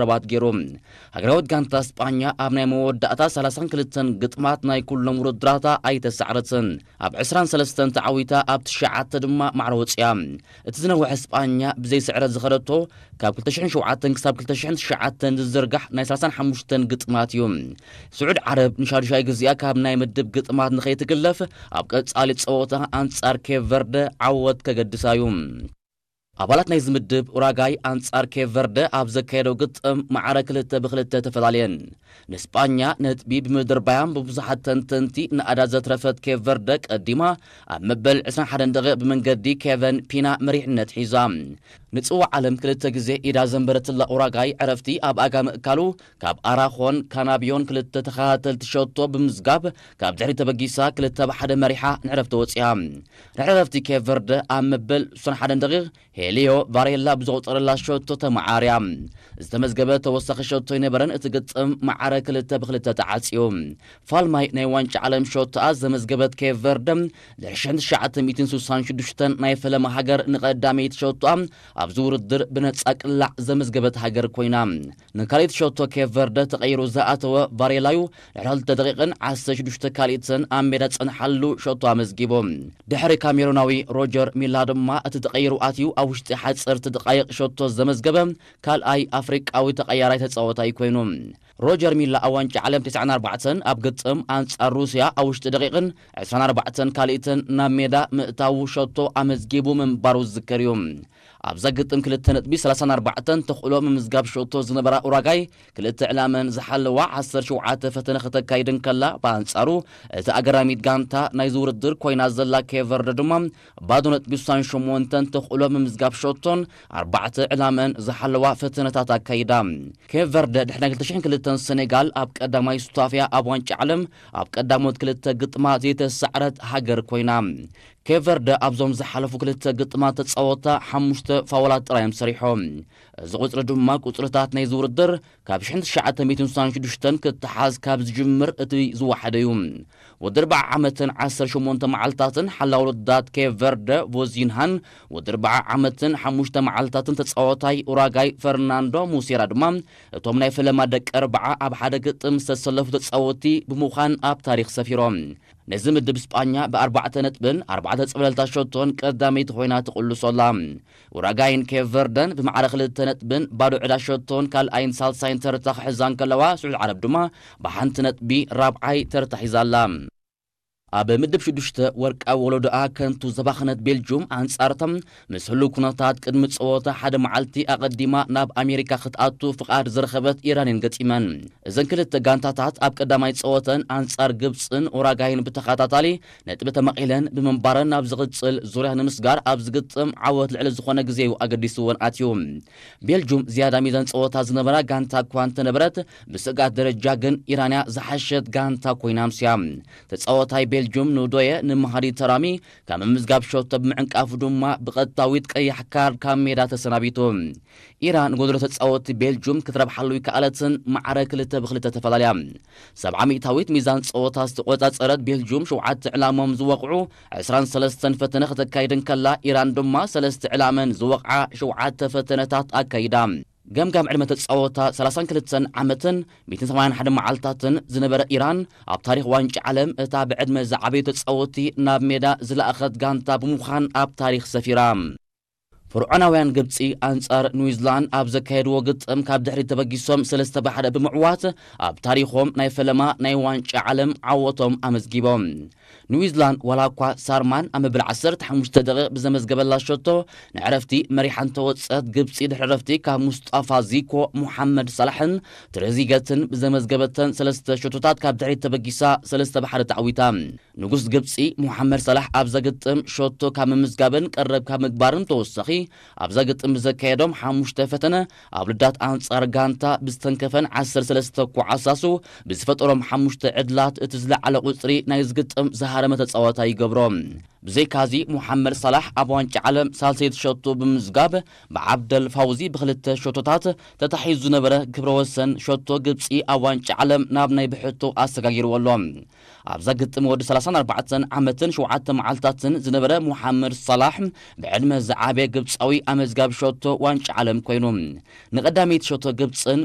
ረባት ገይሩ። ሃገራዊት ጋንታ ስጳኛ ኣብ ናይ መወዳእታ ሰላሳን ክልተን ግጥማት ናይ ኩሎም ውድድራታ ኣይተሳዕረትን። ኣብ ዕስራን ሰለስተን ተዓዊታ ኣብ ትሽዓተ ድማ ማዕረ ወፂኣ። እቲ ዝነውሐ ስጳኛ ብዘይ ስዕረት ዝኸደቶ ካብ ክልተ ሽሕን ሸውዓተን ክሳብ ክልተ ሽሕን ትሽዓተን ዝዝርጋሕ ናይ ሰላሳን ሓሙሽተን ግጥማት እዩ። ስዑድ ዓረብ ንሻዱሻይ ግዜኣ ካብ ናይ ምድብ ግጥማት ንኸይትግለፍ ኣብ ቀጻሊ ጸወታ ኣንጻር ኬፕ ቨርደ ዓወት ከገድሳ እዩ። ኣባላት ናይዚ ምድብ ኡራጋይ ኣንጻር ኬፕ ቨርደ ኣብ ዘካየደው ግጥም ማዕረ ክልተ ብክልተ ተፈላለየን። ንስጳኛ ነጥቢ ብምድርባያን ብብዙሓት ተንተንቲ ንኣዳ ዘትረፈት ኬፕ ቨርደ ቀዲማ ኣብ መበል ዕስራን ሓደን ደቂቕ ብመንገዲ ኬቨን ፒና መሪሕነት ሒዛ። ንጽዋዕ ዓለም ክልተ ግዜ ኢዳ ዘንበረትላ ኡራጋይ ዕረፍቲ ኣብ ኣጋ ምእካሉ ካብ ኣራኾን ካናብዮን ክልተ ተኸታተልቲ ሸቶ ብምዝጋብ ካብ ድሕሪት ተበጊሳ ክልተ ብ ሓደ መሪሓ ንዕረፍቲ ወጺኣ። ድሕሪ ዕረፍቲ ኬፕ ቨርደ ኣብ መበል ዕስራን ሓደን ደቂቕ ሄሊዮ ቫሬላ ብዘቑጸረላ ሸቶ ተመዓርያ። ዝተመዝገበ ተወሳኺ ሸቶ ኣይነበረን፣ እቲ ግጥም ማዕረ ክልተ ብክልተ ተዓጽዩ። ፋልማይ ናይ ዋንጫ ዓለም ሸቶኣ ዘመዝገበት ኬፕ ቨርደ ድሕሪ ሽሕን ትሽዓተ ሚእትን ስሳን ሽዱሽተን ናይ ፈለማ ሃገር ንቐዳመይቲ ሸቶኣ ኣብዚ ውድድር ብነጻ ቅላዕ ዘመዝገበት ሃገር ኮይና። ንካልኣይቲ ሸቶ ኬፕ ቨርደ ተቐይሩ ዝኣተወ ቫሬላዩ ድሕሪ ክልተ ደቂቕን ዓሰርተ ሽዱሽተ ካልኢትን ኣብ ሜዳ ዝጸንሓሉ ሸቶ ኣመዝጊቡ። ድሕሪ ካሜሩናዊ ሮጀር ሚላ ድማ እቲ ተቐይሩ ኣትዩ ኣብ ውሽጢ ሓጸርቲ ደቓይቕ ሸቶ ዘመዝገበ ካልኣይ ኣፍሪቃዊ ተቐያራይ ተጻዋታይ ኮይኑ። ሮጀር ሚላ ኣብ ዋንጫ ዓለም ተስዓን ኣርባዕተን ኣብ ግጥም ኣንጻር ሩስያ ኣብ ውሽጢ ደቂቕን ዕስራን ኣርባዕተን ካልኢትን ናብ ሜዳ ምእታዉ ሸቶ ኣመዝጊቡ ምንባሩ ዝዝከር እዩ። ኣብዛ ግጥም ክልተ ነጥቢ ሰላሳን ኣርባዕተን ተኽእሎ ምምዝጋብ ሸቶ ዝነበራ ኡራጋይ ክልተ ዕላመን ዝሓለዋ ዓሰርተ ሸውዓተ ፈተነ ከተካይድ እንከላ፣ ብኣንጻሩ እቲ ኣገራሚት ጋንታ ናይዚ ውድድር ኮይና ዘላ ኬፕ ቨርደ ድማ ባዶ ነጥቢ ስሳን ሸሞንተን ተኽእሎ ምምዝጋብ ሸቶን ኣርባዕተ ዕላመን ዝሓለዋ ፈተነታት ኣካይዳ። ኬፕ ቨርደ ድሕሪ ናይ ክልተ ሽሕን ክልተን ሰኔጋል ኣብ ቀዳማይ ሱታፍያ ኣብ ዋንጫ ዓለም ኣብ ቀዳሞት ክልተ ግጥማት ዘይተሳዕረት ሃገር ኮይና። ኬፕ ቨርደ ኣብዞም ዝሓለፉ ክልተ ግጥማት ተጻወታ ሓሙሽተ ፋውላት ጥራይ እዮም ሰሪሖም። እዚ ቁጽሪ ድማ ቁጽርታት ናይዚ ውድድር ካብ ሽሕን ትሽዓተ ሚእትን ስሳን ሽዱሽተን ክተሓዝ ካብ ዝጅምር እቲ ዝወሓደ እዩ። ወዲ ኣርብዓ ዓመትን ዓሰርተ ሸሞንተ መዓልታትን ሓላው ውድዳት ኬፕ ቨርደ ቮዚንሃን፣ ወዲ ኣርብዓ ዓመትን ሓሙሽተ መዓልታትን ተጻዋታይ ኡራጋይ ፈርናንዶ ሙሴራ ድማ እቶም ናይ ፈለማ ደቂ ኣርብዓ ኣብ ሓደ ግጥም ዝተሰለፉ ተጻወትቲ ብምዃን ኣብ ታሪኽ ሰፊሮም። ነዚ ምድብ ስጳኛ ብኣርባዕተ ነጥብን ኣርባዕተ ጽብለልታ ሸቶን ቀዳመይቲ ኮይና ትቕልሶ ኣላ። ኡራጋይን ኬፕ ቨርደን ብማዕረ ክልተ ነጥብን ባዶ ዕዳ ሸቶን ካልኣይን ሳልሳይን ተርታ ክሕዛ እንከለዋ፣ ስዑድ ዓረብ ድማ ብሓንቲ ነጥቢ ራብዓይ ተርታ ሒዛ ኣላ። ኣብ ምድብ ሽዱሽተ ወርቃዊ ወለዶኣ ከንቱ ዘባኸነት ቤልጁም ኣንጻርቶም ምስ ህሉው ኩነታት ቅድሚ ጸወታ ሓደ መዓልቲ ኣቐዲማ ናብ ኣሜሪካ ክትኣቱ ፍቓድ ዝረኸበት ኢራን እየን ገጢመን። እዘን ክልተ ጋንታታት ኣብ ቀዳማይ ጸወተን ኣንጻር ግብጽን ኡራጋይን ብተኸታታሊ ነጥቢ ተመቒለን ብምንባረን ናብ ዝቕጽል ዙርያ ንምስጋር ኣብ ዝግጥም ዓወት ልዕሊ ዝኾነ ግዜ እዩ ኣገዲስወን ኣትዩ። ቤልጁም ዝያዳ ሚዛን ጸወታ ዝነበራ ጋንታ እኳ እንተነበረት፣ ብስግኣት ደረጃ ግን ኢራንያ ዝሓሸት ጋንታ ኮይና ኣምስያ። ተጻዋታይ ቤልጁም ንዶየ ንመሃዲ ተራሚ ካብ ምምዝጋብ ሸቶ ብምዕንቃፉ ድማ ብቐጥታዊት ቀያሕ ካርድ ካብ ሜዳ ተሰናቢቱ። ኢራን ጎደሎ ተጻወትቲ ቤልጁም ክትረብሓሉ ይከኣለትን ማዕረ ክልተ ብክልተ ተፈላለያ። ሰብዓ ሚእታዊት ሚዛን ጸወታ ዝተቆጻጸረት ቤልጁም ሸውዓተ ዕላሞም ዝወቕዑ ዕስራን ሰለስተን ፈተነ ከተካይድ እንከላ፣ ኢራን ድማ ሰለስተ ዕላመን ዝወቕዓ ሸውዓተ ፈተነታት ኣካይዳ። ገምጋም ዕድመ ተጻወታ ሰላሳን ክልተን ዓመትን ሚእትን ሰማንያን ሓደን መዓልታትን ዝነበረ ኢራን፣ ኣብ ታሪኽ ዋንጫ ዓለም እታ ብዕድመ ዝዓበዩ ተጻወቲ ናብ ሜዳ ዝለኣኸት ጋንታ ብምዃን ኣብ ታሪኽ ሰፊራ። ፍርዖናውያን ግብጺ ኣንጻር ኒውዚላንድ ኣብ ዘካየድዎ ግጥም ካብ ድሕሪት ተበጊሶም ሰለስተ ብ ሓደ ብምዕዋት ኣብ ታሪኾም ናይ ፈለማ ናይ ዋንጫ ዓለም ዓወቶም ኣመዝጊቦም። ኒውዚላንድ ዋላ እኳ ሳርማን ኣብ መበል ዓሰርተ ሓሙሽተ ደቂቕ ብዘመዝገበላ ሸቶ ንዕረፍቲ መሪሓ እንተወጸት፣ ግብጺ ድሕሪ ዕረፍቲ ካብ ሙስጣፋ ዚኮ፣ ሙሓመድ ሳላሕን ትሬዚገትን ብዘመዝገበተን ሰለስተ ሸቶታት ካብ ድሕሪት ተበጊሳ ሰለስተ ብ ሓደ ተዓዊታ። ንጉስ ግብጺ ሙሓመድ ሳላሕ ኣብዛ ግጥም ሸቶ ካብ ምምዝጋብን ቀረብ ካብ ምግባርን ተወሳኺ፣ ኣብዛ ግጥም ብዘካየዶም ሓሙሽተ ፈተነ ኣብ ልዳት ኣንጻር ጋንታ ብዝተንከፈን ዓሰርተ ሰለስተ ኳዓሳሱ ብዝፈጠሮም ሓሙሽተ ዕድላት እቲ ዝለዓለ ቁጽሪ ናይ ዝግጥም ዝሃረመ ተጻዋታይ ይገብሮ። ብዘይካዚ ሙሓመድ ሳላሕ ኣብ ዋንጫ ዓለም ሳልሰይቲ ሸቶ ብምምዝጋብ ብዓብደል ፋውዚ ብክልተ ሸቶታት ተታሒዙ ዝነበረ ክብረ ወሰን ሸቶ ግብጺ ኣብ ዋንጫ ዓለም ናብ ናይ ብሕቶ ኣሰጋጊርዎ ኣሎ። ኣብዛ ግጥም ወዲ ሰላሳን ኣርባዕተን ዓመትን ሸውዓተ መዓልታትን ዝነበረ ሙሓመድ ሳላሕ ብዕድመ ዝዓበየ ግብጺ ውሽጣዊ ኣመዝጋቢ ሸቶ ዋንጫ ዓለም ኮይኑ፣ ንቐዳመይቲ ሸቶ ግብፅን